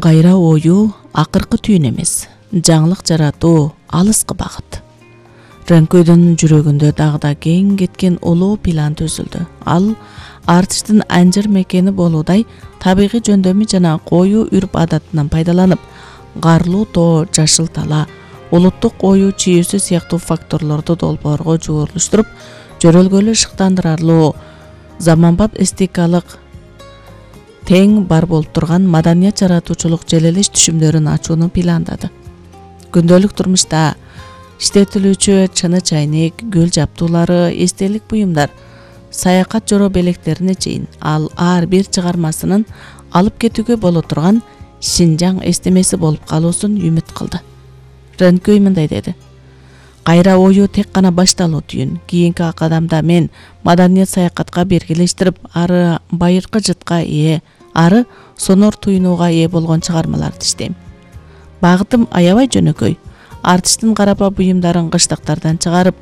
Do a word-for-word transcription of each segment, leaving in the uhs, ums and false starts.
Кайра ою акыркы түйүн эмес, жаңылык жаратуу алыскы багыт. Рөнкөйдүн жүрөгүндө дагы да кең кеткен улуу план түзүлдү. Ал артиштин анжыр мекени болуудай табигый жөндөмү жана коюу үрп адатынан пайдаланып, карлуу тоо, жашыл тала, улуттук ою чийүүсү сыяктуу факторлорду долбоорго жуурулуштуруп, жөрөлгөлүү шыктандырарлуу, заманбап эстетикалык тең бар болуп турган маданият жаратуучулук желелеш түшүмдөрүн ачууну пландады. Күндөлүк турмушта иштетилүүчү чыны чайник, гүл жаптуулары, эстелик буюмдар, саякат жоро белектерине чейин ал ар бир чыгармасынын алып кетүүгө боло турган Шинжаң эстемеси болуп калуусун үмүт кылды. Рөнкөй мындай деди: Кайра ою тек гана башталуу түйүн. Кийинки кадамда мен маданият саякатка бергилештирип, ары байыркы жытка ээ, ары сонор туюнууга ээ болгон чыгармаларды иштейм. Багытым аябай жөнөкөй. Артиштин карапа буюмдарын кыштыктардан чыгарып,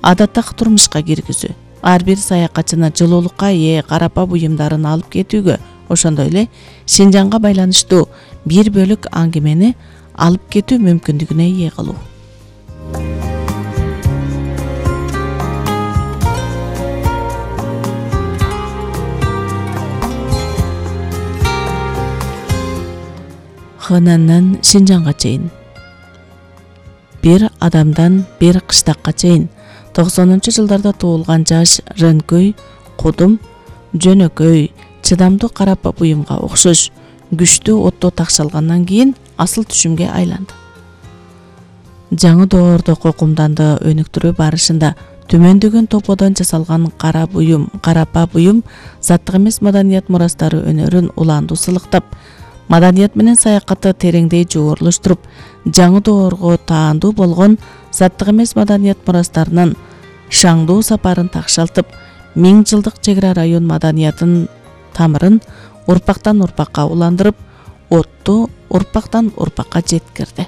адаттагы турмушка киргизүү. Ар бир саякатчыны жылуулукка ээ карапа буюмдарын алып кетүүгө, ошондой эле Шинжаңга байланыштуу бир бөлүк аңгемени алып кетүү мүмкүндүгүнө ээ кылуу. Хэнандан Шинжаңга чейин, бир адамдан бир кыштакка чейин токсонунчу жылдарда туулган жаш Рөнкөй кудум, жөнөкөй, чыдамдуу карапа буюмга окшош күчтүү отто такшалгандан кийин асыл түшүмгө айланды. Жаңы доордо кокумданды өнүктүрүү барышында төмөндөгөн топодон жасалган кара буюм, карапа буюм заттык эмес маданият мурастары өнөрүн улаандуу сылыктап, маданият менен саякатты тереңдей жуурулуштуруп, жаңы доорго таандуу болгон заттык эмес маданият мурастарынын шаңдуу сапарын такшалтып, миң жылдык чегара район маданиятынын тамырын урпактан урпакка уландырып, отту урпактан урпакка жеткирди.